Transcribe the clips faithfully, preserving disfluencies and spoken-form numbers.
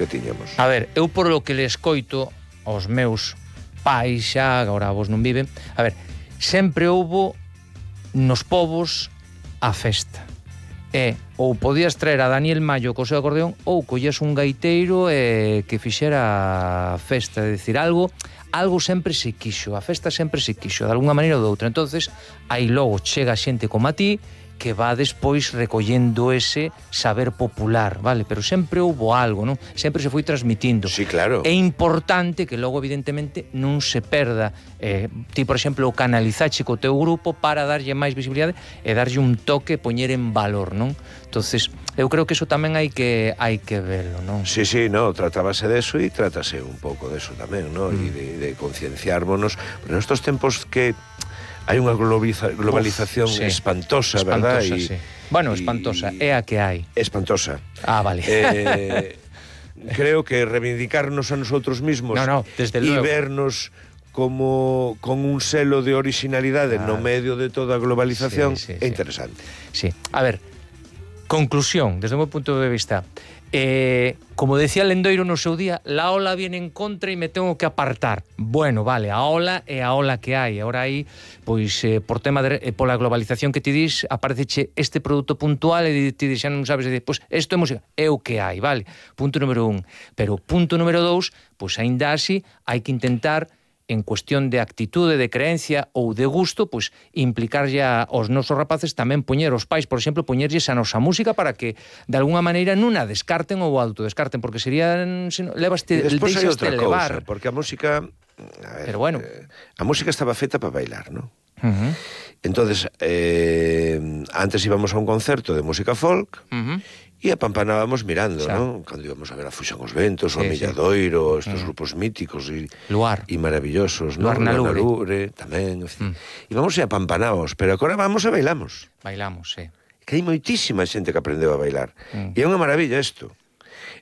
que tiñamos. A ver, eu por lo que le escoito aos meus pais xa, agora vos non viven, a ver, sempre houbo nos povos a festa. E ou podías traer a Daniel Mallo co seu acordeón ou collías un gaiteiro e que fixera festa, é dicir, algo algo sempre se quixo, a festa sempre se quixo, de alguna maneira ou de outra. Entonces, aí logo chega xente como a ti que va despois recollendo ese saber popular, vale? Pero sempre houbo algo, non? Sempre se foi transmitindo. Sí, claro. É importante que logo, evidentemente, non se perda. Eh, ti, por exemplo, o canalizache co teu grupo para darlle máis visibilidade e darlle un toque, poñer en valor, non? Entonces, eu creo que eso tamén hai que hai que verlo, non? Sí, sí, no, tratábase de eso e trátase un pouco de eso tamén, ¿no? Mm. E de, de concienciármonos. Pero nestos tempos que hai unha globalización Uf, sí. espantosa, espantosa, verdad? Sí. Bueno, espantosa, é a que hai. Espantosa. Ah, vale. Eh, creo que reivindicarnos a nosotros mismos no, no, desde e luego. vernos como con un selo de originalidade claro. no medio de toda a globalización sí, sí, é interesante. Sí. A ver, conclusión, desde o meu punto de vista. Eh, como decía Lendoiro no seu día, la ola viene en contra e me tengo que apartar. Bueno, vale, a ola é a ola que hai. Agora aí, pois, eh, por tema de, eh, pola globalización que ti dis, apareceche este produto puntual e ti xa non sabes, e pois, isto é música, é o que hai, vale? Punto número un. Pero punto número dous, pois, aínda así, hai que intentar en cuestión de actitude, de creencia ou de gusto, pois implicar ya aos nosos rapaces tamén poñer os pais, por exemplo, poñerlles a nosa música para que de alguna maneira non a descarten ou autodescarten, porque serían se no, levaste, deixaste levar. Cousa, porque a música, a ver, pero bueno, eh, a música estaba feita para bailar, ¿no? Uh-huh. Entonces, eh, antes íbamos a un concerto de música folk, uh-huh. e apampanábamos mirando, ¿no? Cando íbamos a ver a Fuxan os Ventos, sí, o Milladoiro, sí. estos mm. grupos míticos e e maravillosos, ¿no? Luar na Lubre, Lubre tamén, en fin. Mm. E vamos e apampanábamos, pero agora vamos e bailamos. Bailamos, sí. Que hai moitísima xente que aprendeu a bailar. Mm. E é unha maravilla isto.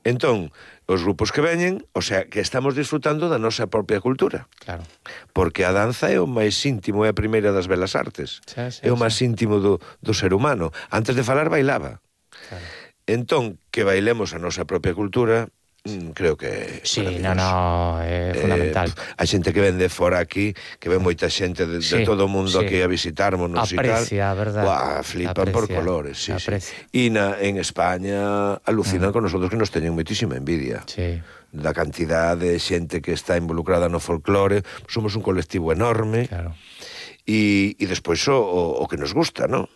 Entón, os grupos que veñen, o sea, que estamos disfrutando da nosa propia cultura. Claro. Porque a danza é o máis íntimo, é a primeira das belas artes. Sí, sí, é o máis sí. íntimo do, do ser humano. Antes de falar, bailaba. Claro. Entón, que bailemos a nosa propia cultura, mm, creo que... Sí, no, no, é fundamental. Eh, a xente que ven de fora aquí, que ven moita xente de, sí, de todo o mundo sí. aquí a visitarmonos e tal. Aprecia, verdad. Buah, flipan aprecia, por colores, sí, aprecia. sí. E na, en España alucinan mm. con nosotros, que nos teñen moitísima envidia. Sí. Da cantidad de xente que está involucrada no folclore, somos un colectivo enorme. Claro. E, e despois o, o, o que nos gusta, ¿no?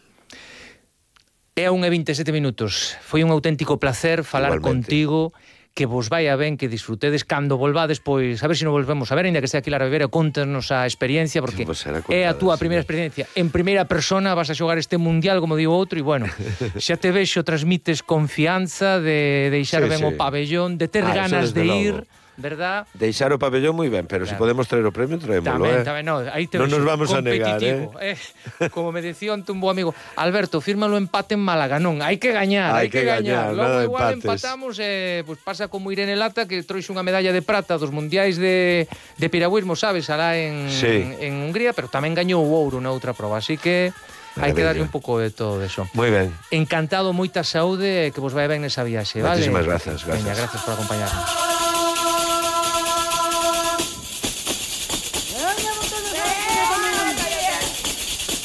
É a unha e vinte e sete minutos. Foi un auténtico placer falar Igualmente. contigo, que vos vai a ben, que disfrutedes cando volvades, pois a ver se non volvemos a ver, ainda que sea aquí la Ribera, contanos a experiencia, porque é a túa primeira experiencia. En primeira persona vas a xogar este mundial, como digo outro, e bueno, xa te vexo, transmites confianza de deixar sí, ben sí. o pabellón, de ter ah, ganas de ir... Logo. ¿Verdad? Deixar o pabellón moi ben, pero claro. se podemos traer o premio, traémoslo, tamén, eh? Tamén, no, aí te non nos vamos a negar, eh? eh? Como me decía un bo amigo, Alberto, fírmalo empate en Málaga, non, hai que gañar, hai que, que gañar. Logo igual empates. Empatamos, eh, pues pasa como Irene Lata, que trouxe unha medalla de prata dos mundiais de, de piragüismo, sabes, alá en, sí. en, en Hungría, pero tamén gañou o ouro na outra proba, así que... hai que darlle un pouco de todo eso. Moi ben. Encantado, moita saúde, que vos vai ben nesa viaxe, vale? Moitísimas grazas, grazas. Veña, grazas por acompañarnos.